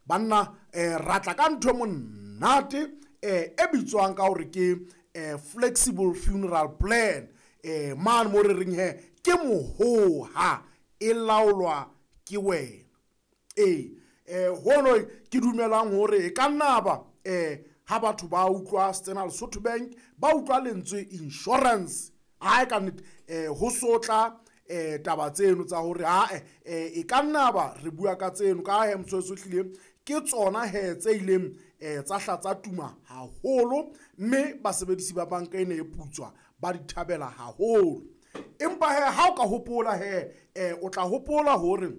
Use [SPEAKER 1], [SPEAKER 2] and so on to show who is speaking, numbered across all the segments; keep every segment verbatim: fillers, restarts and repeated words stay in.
[SPEAKER 1] Banna eh ra tla ka ntho e monate eh e bitswang ka hore ke eh flexible funeral plan eh mane mo re reng he ke mohoha e laolwa ke wena. Ee eh hono ke dumelang hore e ka nna ba eh ha batho ba utlwa Standard Lesotho Bank ba utlwa lentswe insurance ha e ka nnete eh ho sotla eh taba tseno tsa hore ha eh e ka nna ba re bua ka tseno ka he motshwetso hlile ke tsona he tse ileng eh tsa hla tsa tuma haholo mme basebedisi ba banka ena e putswa ba di thabela haholo. Empa he ha o ka hopola he eh o tla hopola hore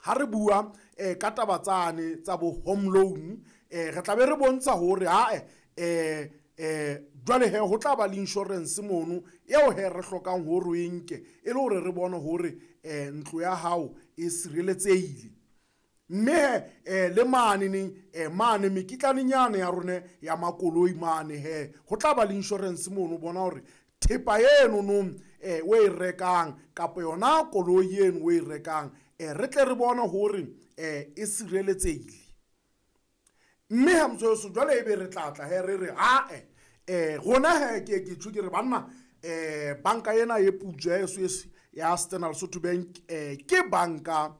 [SPEAKER 1] ha re bua eh ka taba tsane tsa bo home loan eh re tla be re bontsha hore ha eh eh jwale he ho tla ba le insurance mono eo he re hlokang hore o e nke e le hore re bone hore eh ntlo ya hao e sireletsehile. Mme he eh le mane neng eh mane mekitlanenyana ya rone ya makoloi mane he ho tla ba le insurance mono bona hore thepa eno no eh o e rekang kapa yona koloi eno o e rekang eh re tle re bone hore eh e sireletsehile. Mme ha motshweso jwale ebe re tla tla he re re ha eh eh rona he ke ke tjho ke re banna eh banka ena e putswa ya S ya Standard Lesotho Bank eh ke banka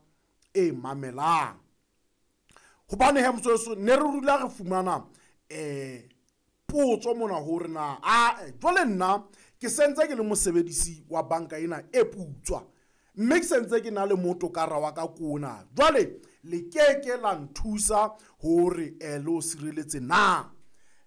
[SPEAKER 1] e mamelang. Hobane he motshweso ne re rula re fumana eh potso mona hore na a jwale nna ke sentse ke le mosebedisi wa banka ena e putswa mme ke sentse ke na le motokara wa ka kona jwale le keke la nthusa hore eh le o sireletse na.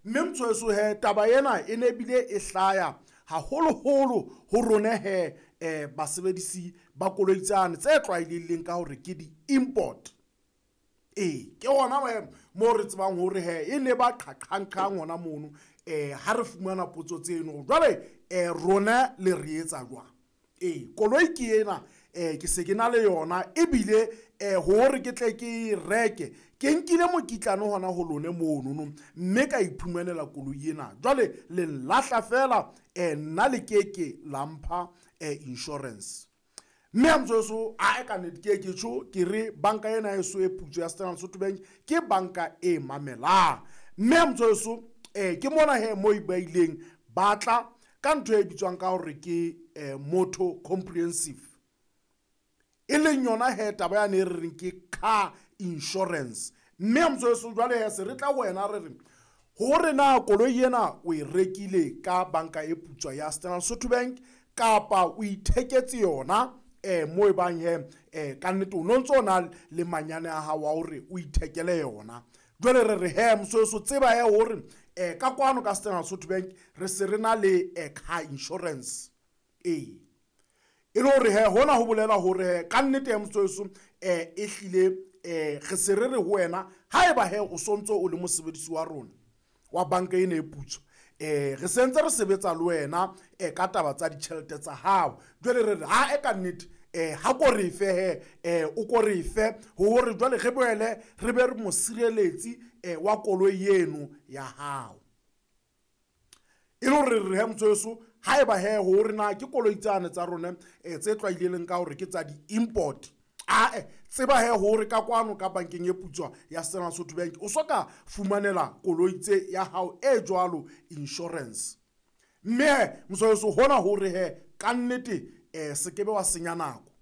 [SPEAKER 1] Mme motshweso he taba ena e ne bile e hlaya haholoholo ho rona he eh basebedisi ba koloi tsane tse tlwaelehileng ka hore ke di-import. Ee ke hona mo re tsebang hore he e ne ba qhaqhang hona mono eh ha re fumana potso tseno jwale eh rona le re etsa jwang. Ee koloi ke ena eh ke se ke na le yona ebile eh hore ke tle ke reke ke nkile mokitlane hona ho lone mono no mme ka iphumanela koloi ena jwale le nlahla fela eh nna le keke la mpha eh insurance. Mme ha motshweso a e ka nnete ke ke tjho ke re banka ena e so e putso ya Standard Lesotho Bank ke banka e mamelang. Mme ha motshweso eh ke mona he mo e ba ileng ba tla ka ntho e bitswang ka hore ke eh motor comprehensive e leng yona he taba ya ne re reng ke car insurance. Mme ha motshweso jwale he se re tla wena re re hore na koloi ena o e rekile ka banka e putswa ya Standard Lesotho Bank kapa o itheketse yona eh mo e bang he eh ka nnete o no ntso na le manyane a hao wa hore o ithekele yona. Jwale re re he motshweso tseba he hore eh ka kwano ka Standard Lesotho Bank re se re na le eh car insurance. Ee e le hore he hona ho bolela hore he ka nnete ya motshweso eh e hlile eh re se re re ho wena haeba he o sontso o le mosebedisi wa rona wa banka ena e putswa eh re sentse re sebetsa le wena eh ka taba tsa ditjhelete tsa hao. Jwale re re ha e ka nnete eh ha ko re fe he eh o ko re fe hore jwale re boele re be re mosireletsi eh wa koloi eno ya hao. E le hore re he motshweso haeba he hore na ke koloi tsane tsa rona eh tse tlwaelehileng ka hore ke tsa di-import a eh tseba he hore ka kwano ka bankeng e putswa ya Standard Lesotho Bank o soka fumanela koloi tse ya hao e jwalo insurance. Mme he motshweso hona hore he ka nnete eh se kebe wa senya nako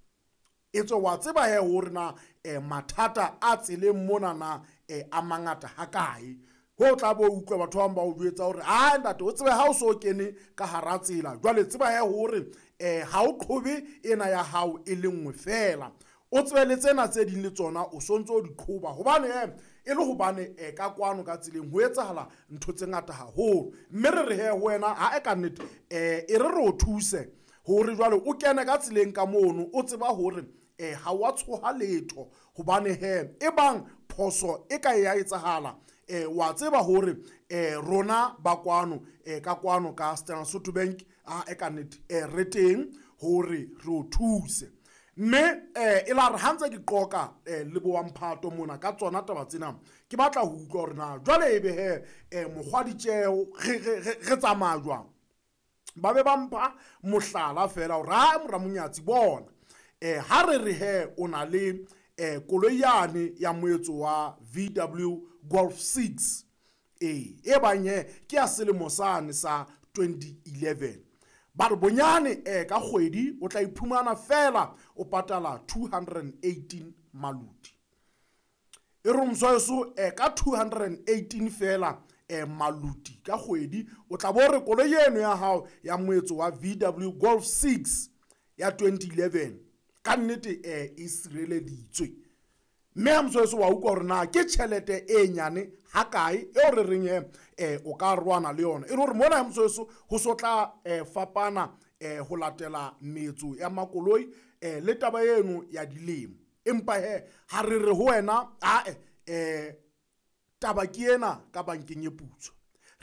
[SPEAKER 1] etswe wa tseba he hore na eh mathata a tseleng mona na eh a mangata hakae. Ho tla bo utlwa batho ba bang ba o jwetsa hore ha ntate o tsebe ha o so kene ka hara tsela jwale tseba he hore eh ha o qhobe ena ya hao e le nngwe fela o tsebe le tsena tse ding le tsona o sontso o di qhoba hobane he e le hobane eh ka kwano ka tseleng ho etsahala ntho tse ngata haholo. Mme re re he ho wena ha e ka nnete eh e re re o thuse hore jwale o kene ka tseleng ka mono o tseba hore eh ha wa tshoha letho hobane he e bang phoso e ka ya etsahala eh wa tseba hore eh rona ba kwano eh ka kwano ka Standard Lesotho Bank a e ka nnete eh re teng hore re o thuse. Mme eh e la re ha ntse ke qoka eh le bo wa mphato mona ka tsona taba tsena ke batla ho utlwa hore na jwale ebe he eh mokgwa ditjeho re re re tsamaya jwang. Ba be ba mpha mohlala fela hore ha mora monyatsi bona eh ha re re he o na le um koloi yane ya moetso wa V W Golf six e e bang he ke ya selemo sane sa twenty eleven. Ba re bonyane um ka kgwedi o tla iphumana fela o patala two hundred and eighteen maluti. E re moswaeso um ka two hundred and eighteen fela um maluti ka kgwedi o tla bo re koloi eno ya hao ya moetso wa V W Golf six ya twenty eleven ka nnete um e sireleditswe. Mme ha moswaeso wa utlwa hore na ke tjhelete e nyane hakae eo re reng he um o ka rwana le yona. E le hore mona ha moswaeso ho so tla um fapana um ho latela metso ya makoloi um le taba eno ya dilemo. Empa he ha re re ho wena ae um taba ke ena ka bankeng e putswa.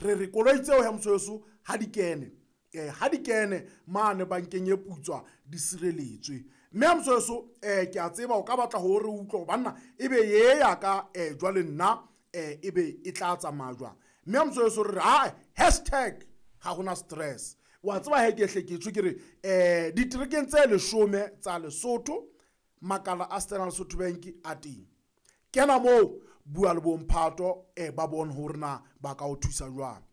[SPEAKER 1] Re re koloi tseo ha moswaeso ha di kene um ha di kene mane bankeng e putswa di sireletswe. Mme ha moswaeso um ke a tseba o ka batla hore o utlwe banna ebe ye ya ka um jwale nna um ebe e tla tsamaya jwang. Mme ha moswaeso re re ae hashtag ha hona stress. Wa tseba he ke hle ke tjho ke re um diterekeng tse leshome tsa Lesotho makala a Standard Lesotho Bank a teng. Kena moo bua le bomphato um ba bone hore na ba ka o thusa jwang.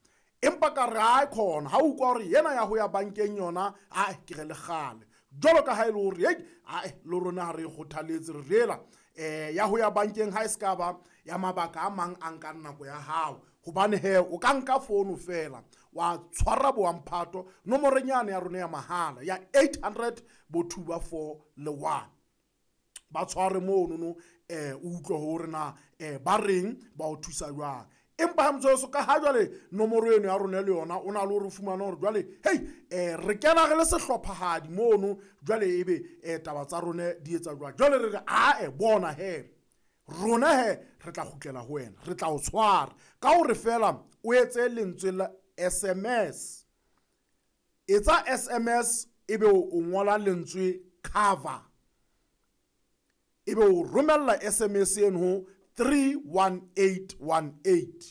[SPEAKER 1] Empa ka re ae khona ha o utlwa hore yena ya ho ya bankeng yona ae ke re le kgale. Jwalo ka ha e le hore hei ae le rona ha re kgothaletse re rela um ya ho ya bankeng ha e se ka ba ya mabaka a mang a nkang nako ya hao. Hobane he o ka nka founu fela wa tshwara boamphato nomoreng yane ya rona ya mahala ya eight hundred bo two ba four le one. Ba tshware mono no um o utlwe hore na um ba reng ba o thusa jwang. Empa ha motsoso ka ha jwale nomoro eno ya rona le yona o na le hore o fumane hore jwale hei um re kena re le sehlophahadi mono jwale ebe um taba tsa rona di etsa jwang. Jwale re re ae bona he rona he re tla kgutlela ho wena, re tla o tshwara ka hore fela o etse lentswe la S M S. Etsa S M S ebe o ngola lentswe cover, ebe o romella S M S eno ho three one eight one eight.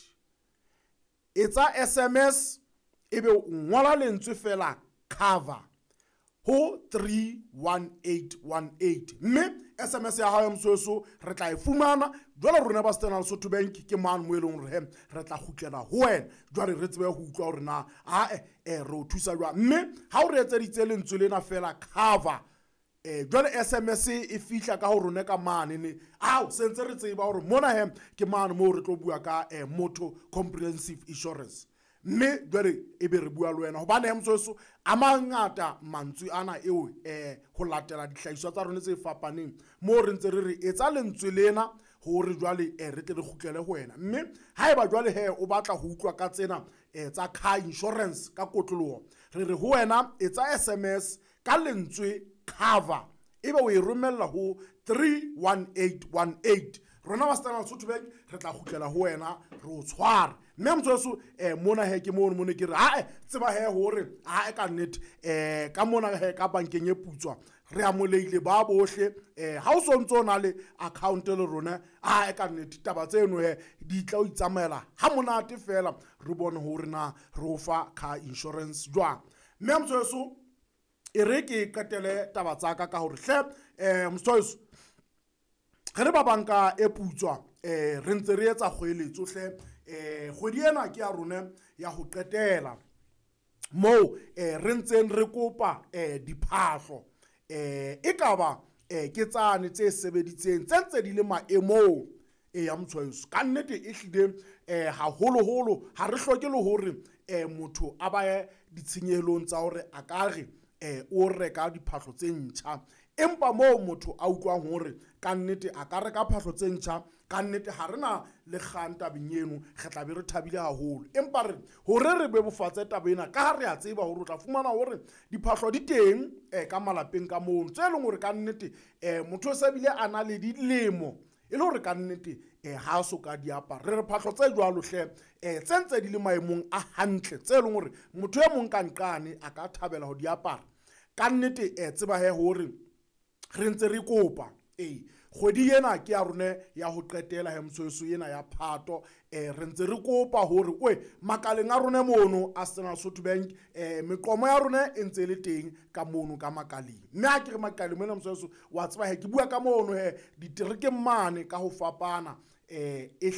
[SPEAKER 1] Etsa S M S ebe o ngola lentswe fela cover ho three one eight one eight. Mme S M S ya hao ya mosweso re tla e fumana jwale rona ba Standard Lesotho Bank ke mang mo e leng hore he re tla kgutlela ho wena jwale re tsebe ho utlwa hore na ae re o thusa jwang. Mme ha o re etseditse lentswe lena fela cover eh jwale S M S e fihla ka ho rona ka mane ne ao sentse re tseba hore mona he ke mane moo re tlo bua ka eh, motor comprehensive insurance. Mme jwale ebe re bua le wena hobane he mosweso a mangata mantswe ana eo eh ho latela dihlahiswa tsa rona tse fapaneng moo re ntse re re etsa lentswe lena hore jwale eh re tle re kgutlele ho wena. Mme haeba jwale he o batla ho utlwa ka tsena eh tsa car insurance ka kotloloho re re ho wena etsa S M S ka lentswe cover ebe o e romella ho three one eight one eight. Rona ba Standard Lesotho Bank re tla kgutlela ho wena re o tshware. Mme motsoso eh mona he ke mono mone ke re ae tseba he hore ae ka nnete eh ka mona he ka bankeng e putswa re amoleile ba bohle eh ha o sontso na le account le rona ae ka nnete taba tseno he di tla o itsamaela ha monate fela re bone hore na re o fa car insurance jwang. Mme motsoso e re ke qetele taba tsa ka ka hore hle eh motsoso re le ba banka e putswa eh re ntse re etsa kgoeletso hle eh kgwedi ena ke ya rona ya ho qetela moo eh re ntseng re kopa eh diphahlo eh ekaba eh ke tsane tse sebeditseng tse ntse di le maemong e ya motshwaeso. Ka nnete e hlile eh haholoholo ha re hloke le hore eh motho a baye ditshenyehelong tsa hore a ka re eh o reka diphahlo tse ntjha. Empa moo motho a utlwang hore ka nnete a ka reka phahlo tse ntjha ka nnete ha rena le kgang tabeng eno re tla be re thabile haholo. Empa re hore re bebofatse taba ena ka ha re a tseba hore o tla fumana hore diphahlo di teng eh ka malapeng ka mono tse leng hore ka nnete eh motho o se bile a na le dilemo e le hore ka nnete eh ha so ka di apara. Re re phahlo tse jwalo hle eh tse ntse di le maemong a hantle tse leng hore motho e mong ka nqane a ka thabela ho di apara. Ka nnete eh tseba he hore re ntse re kopa ee Kgwedi ena ke ya rone ya ho qetela he motshweso ena ya Phato. um Re ntse re kopa hore oe makaleng a rone mono a Standard Lesotho Bank, um meqomo ya rone e ntse e le teng ka mono ka makaleng. Mme ha ke re makaleng mona motshweso, wa tseba he ke bua ka mono he diterekeng mane ka ho fapana, um e